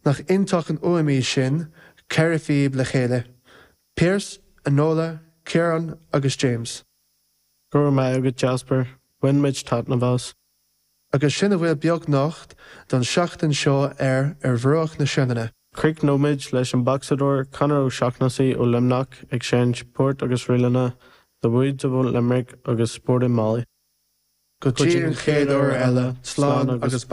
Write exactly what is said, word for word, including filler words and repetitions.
Nach iontach an fhuaim í sin ceithre phíb le chéile. Pearse, Enola, Ciarán agus James. Go raibh maith agat Jasper, bhain muid taitneamh as. Agus sin a bhfuil beocht don seachtain seo ar ar bhruach na Sionainne. Críochnóimid leis an bocsadóir Conor O'Shaughnessy ó Luimneach ag seinnt poirt agus ríleanna The Woods of Limerick agus Sporting Molly. Go dtí an chéad uair eile slán agus